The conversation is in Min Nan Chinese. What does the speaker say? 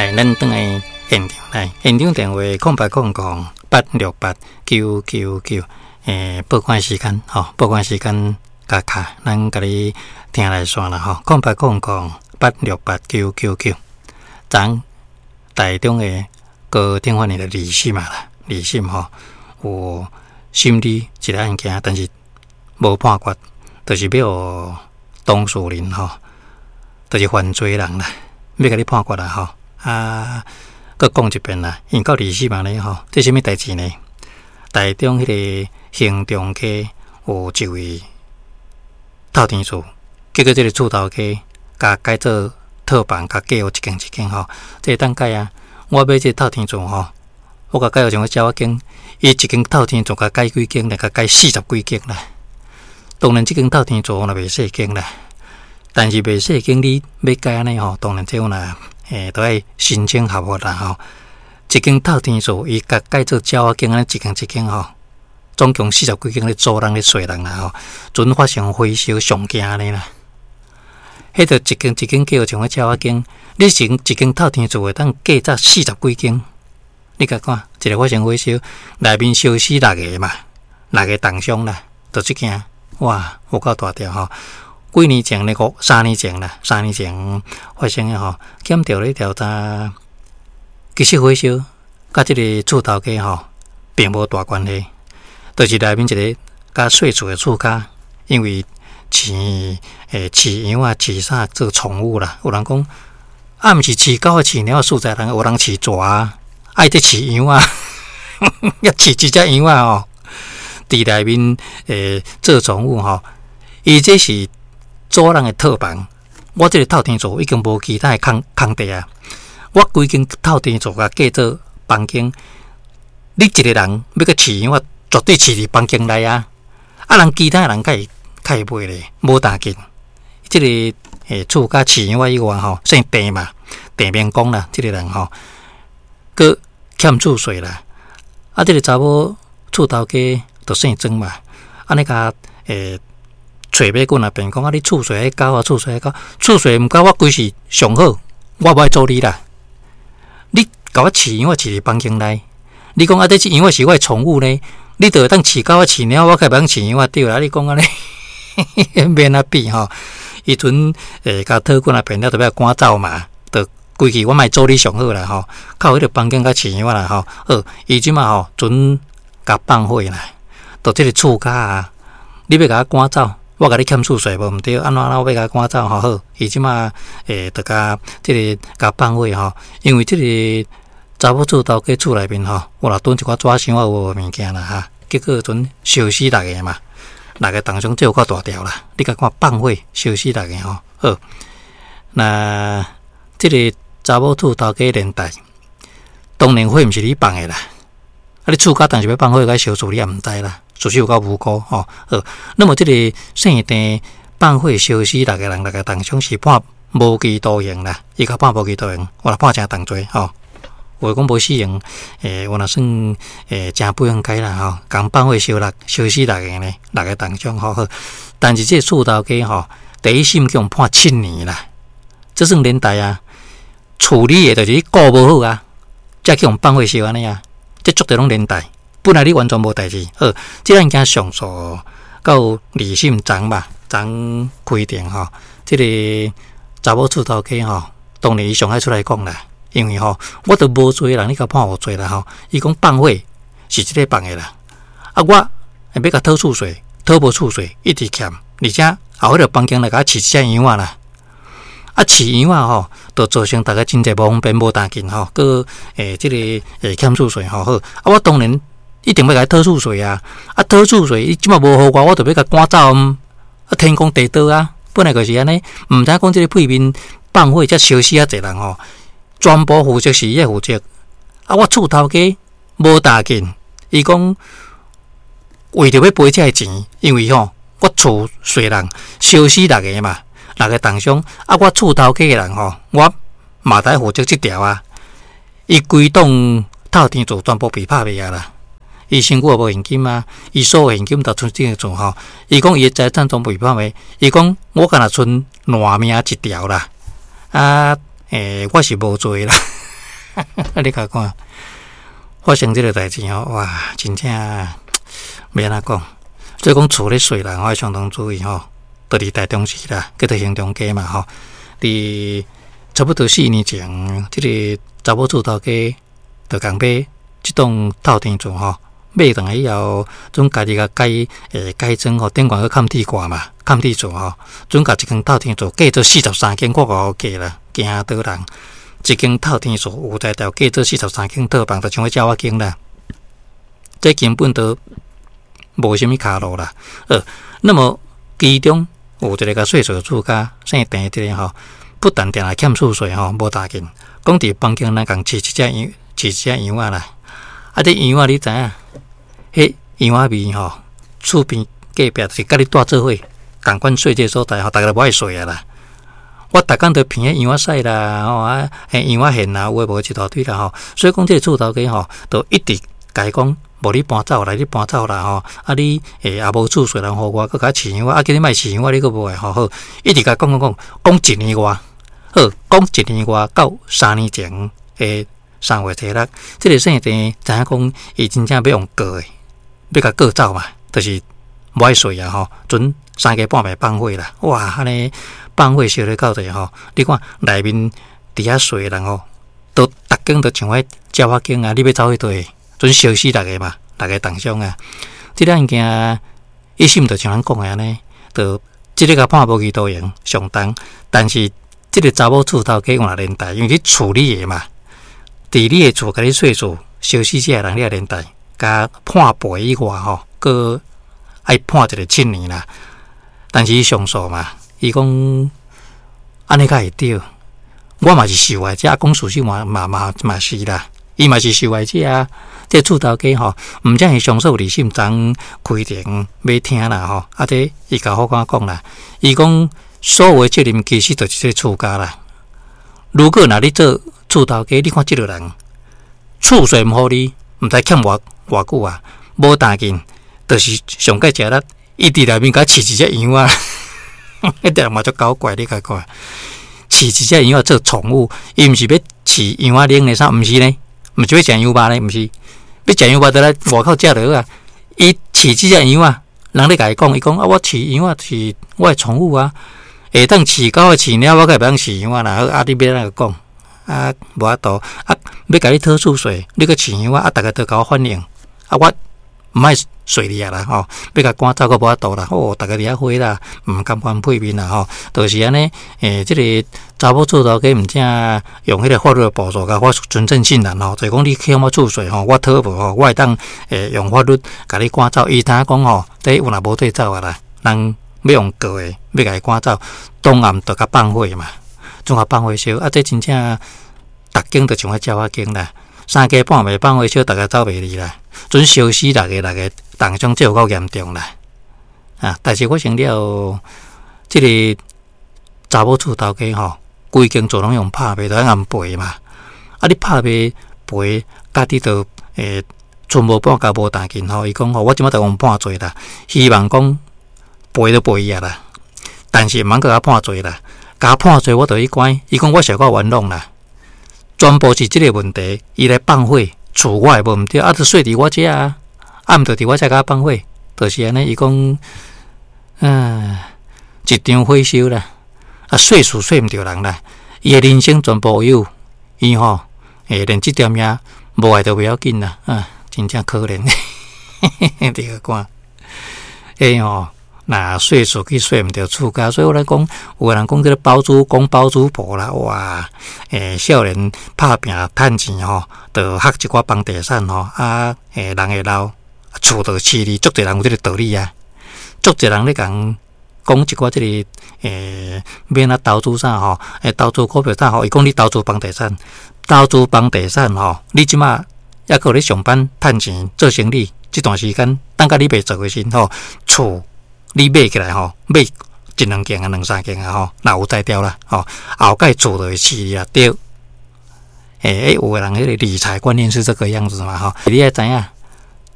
來，咱轉來現場來，現場電話0800868999。報館時間吼，報館時間共敲，咱共你聽熱線啦吼，0800868999。昨台中的高等法院的二審啊啦，二審吼有審理一個案件，但是無判決，就是欲予當事人吼，就是犯罪人啦，欲共你判決啦吼。啊，閣講一遍啦，因為到二審按呢吼，這啥物代誌呢？台中彼個興中街有一位透天厝，結果這個厝頭家共改做套房，共改予一間一間吼，這會當改啊！我買這個透天厝吼，我共改予像個鳥仔間，伊一間透天厝共改幾間咧，共改四十幾間啦。當然，這間透天厝若袂細間啦，但是袂細間，你欲改按呢吼，當然這有若都愛申請合法啦吼。一間透天厝，伊共改做鳥仔間按呢一間一間吼，總共四十幾間咧租人咧稅人啦吼，陣發生火燒上驚按呢啦。彼著一間一間叫像個鳥仔間，你是一間透天厝會當改做四十幾間，你共看，一个發生火燒，內面燒死六個嘛，六個重傷啦，就這件，哇，有夠大條吼！幾年前咧，五三年前啦，三年前發生的吼，檢調咧調查，其實火燒佮這个厝頭家吼，並無大關係，就是內面一个較細厝的厝跤，因為飼飼羊仔飼啥做寵物啦，有人講啊，毋是飼狗仔飼貓仔，實在人有人飼蛇啊，愛佇飼羊仔，抑飼一隻羊仔吼，佇內面做寵物吼，伊這是租人的套房，我這个透天厝已經無其他的空空地啊，我規間透天厝共改做房間，你一个人欲閣飼羊仔，絕對飼佇房間內啊，啊人其他人較會較會買咧，無當緊。這个厝跤飼羊仔以外吼，姓鄭嘛，鄭明光啦，這个人吼，閣欠厝稅啦，啊，這个查某厝頭家就姓莊嘛，按呢共揣欲滾啊，辯講啊，你厝稅愛交啊，厝稅愛交，厝稅毋交，我規時上好，我無愛租你啦。你共我飼羊仔飼佇房間內，你講啊，這隻羊仔是我的寵物呢，你就會當飼狗仔飼貓，我較袂當飼羊仔對啦。你講按呢，免啊比吼。伊陣共討棍啊辯了，就欲趕走嘛，就規氣我莫租你上好啦吼，較有彼个房間共飼羊仔啦吼。好，伊這馬吼準共放火啦，就這个厝跤啊，你欲共我趕走，我共你欠厝稅無毋對，按怎按怎我欲共趕走吼好，伊這馬就共這个共放火吼，因為這个查某厝頭家厝內面吼，有若囤一寡紙箱仔有無物件啦哈，結果陣燒死六個嘛，六個重傷這有夠大條啦，你共看放火燒死六個吼，好，那這个查某厝頭家連帶，當然火毋是你放的啦，啊你厝跤當時欲放火共燒厝你也毋知啦。事實有夠無辜吼，好，那麼這个姓鄭放火燒死六個人，六個重傷是判無期徒刑啦，伊共判無期徒刑，有若判誠重罪吼。有的講無死刑，有若算誠不應該啦吼，共放火燒六燒死六個呢，六個重傷吼好。但是這个厝頭家吼，第一審共判7年啦，這算連帶啊，處理的就是你顧無好啊，才去予放火燒按呢啊，這絕對攏連帶。本來你完全無代誌，好，這案件上訴到二審昨嘛，昨開庭吼，這个查某厝頭家吼，當然伊上愛出來講啦，因為吼，我都無罪的人，你共判有罪啦吼。伊講放火是這个放的啦，啊，我欲共討厝稅，討無厝稅，一直欠，而且後彼个房間來共我飼一隻羊仔啦，啊，飼羊仔吼，就造成逐家真濟無方便無當緊吼，閣這个欠厝稅吼好，啊，我當然一定欲共伊討厝稅啊！啊，討厝稅，伊這馬無予我，我就欲共趕走啊！天公地道啊，本來就是按呢，毋知講這个屁面放火才燒死遐濟人吼，全部負責是伊負責。啊，我厝頭家無當緊，伊講為著欲賠這个錢，因為吼我厝稅人燒死六個嘛，六個重傷，啊，我厝頭家的人吼，我嘛得負責這條啊。伊規棟透天厝全部被拍賣啊啦！伊身軀也無現金啊，伊所有現金都賰這个厝吼。伊講伊的財產全部被拍賣，伊講我敢若賰爛命一條啦。啊，我是無罪啦。你共看，發生這个代誌吼，哇，真正欲按怎講？所以講厝咧稅人，我愛相當注意吼。佇佇台中市啦，叫做興中街嘛吼。佇差不多4年前，這个查某厝頭家就共買這棟透天厝吼，買轉來以後，準家己共改改裝吼，頂懸閣崁鐵蓋嘛，崁鐵厝吼，準共一間透天厝計做43間，我閣計啦，驚倒人。一間透天厝有才調計做四十三間套房，就像彼鳥仔間啦。這根本都無啥物跤路啦。那麼其中有一个共稅厝厝家姓鄭這个吼，不但定定欠厝稅吼，無打緊，講佇房間內共飼一隻羊，飼一隻羊仔啦。啊，這羊仔你知影？彼羊仔味吼，厝邊隔壁就是佮你蹛做伙，仝款稅這个所在吼，逐个都無愛稅啊啦。我逐工都鼻彼羊仔屎啦，吼啊，羊仔糞啦，有的無的一大堆啦吼。所以講這个厝頭家吼，就一直共伊講，無你搬走啦，你搬走啦吼。啊你也無厝稅人予我，閣共我飼羊仔，啊叫你莫飼羊仔，你閣無愛吼。好，一直共講講講，講一年外，好，講一年外到3年前的3月初6，這个姓鄭知影講，伊真正欲予告的，欲共告走嘛，就是無愛稅啊吼，準三更半暝放火啦，哇，按呢放火燒咧到底吼，你看內面佇遐睡的人吼，都逐間都像彼鳥仔間啊，你欲走去佗？準燒死逐个嘛，逐个重傷啊！這个案件一審就像咱講的按呢，就這个共判無期徒刑上重，但是這个查某厝頭家有若連帶，因為你厝你的嘛，佇你的厝共你稅厝燒死這个人，你也連帶，共判賠以外吼，閣愛判一个7年啦。但是伊上訴嘛，伊講按呢較會對，我嘛是受害者，講事實嘛嘛嘛嘛是啦，伊嘛是受害者啊。這厝頭家吼，毋只是上訴二審昨開庭欲聽啦吼，啊這伊共法官講啦，伊講所有的責任其實就是這个厝家啦。如果若你做厝頭家，你看這个人厝稅毋予你，毋知欠偌偌久啊，無擔緊，就是上蓋食力，伊佇內面共飼一隻羊仔，彼個人嘛足搞怪，你共看，飼一隻羊仔做寵物，伊毋是欲飼羊仔奶的啥，毋是呢，毋是欲食羊肉呢，毋是。欲食羊肉就來外口食就好啊！伊飼這隻羊仔，人咧共伊講，伊講啊，我飼羊仔是我的寵物啊，會當飼狗、飼貓，我閣會當飼羊仔啦。啊，你欲按怎講？啊，無法度啊，欲共你討厝稅，你閣飼羊仔啊，逐个都共我反映啊，我毋愛稅你啊啦吼，欲共趕走閣無法度啦，哦，逐个佇遐火啦，毋甘願配面啦吼，就是按呢，這个查某厝頭家毋正用彼个法律的步驟共我存證信函吼，就是講你欠我厝稅吼，我討無吼，我會當用法律共你趕走。伊知影講吼，這有若無對走啊啦，人欲用告的，欲共伊趕走，當暗就共放火嘛，總共放火燒啊！這真正逐間都像彼鳥仔間啦，三更半暝放火燒，逐个走袂離啦，準燒死六个六个，重傷這有夠嚴重啦！啊，但是我想了，這个查某厝頭家吼，規間厝攏用拍賣，就愛按賠嘛。啊，你拍賣賠，家己就剩無半角無擔緊吼。伊講吼，我這擺就用判罪啦，希望講賠就賠伊啊啦。但是毋通閣共判罪啦，共判罪我就去關。伊講我是夠冤枉啦，全部是這个問題，伊來放火，厝我的無毋對，啊，就稅佇我遮啊，啊，毋就佇我遮共我放火，就是按呢。伊講，一場火燒啦，啊，稅厝稅毋著人啦，伊的人生全部有，伊吼，連這條命無愛都袂要緊啦，啊，真正可憐，你看，吼。若稅厝去稅毋著厝家，所以我來講，有的人講這个包租公包租婆啦，哇，少年拍拚趁錢吼，就學一寡房地產吼，啊，人會老，厝就飼你，足濟人有這个道理啊，足濟人咧共講一寡這个，欲按怎投資啥吼，投資股票啥吼，伊講你投資房地產，投資房地產吼，你這馬猶閣咧上班趁錢做生理，這段時間等甲你袂做的時吼，厝你買起來吼，買一兩間啊，兩三間啊吼，若有才調啦吼，後蓋厝就會飼你啊，對。有的人彼个理財觀念是這個樣子嘛吼，你愛知影。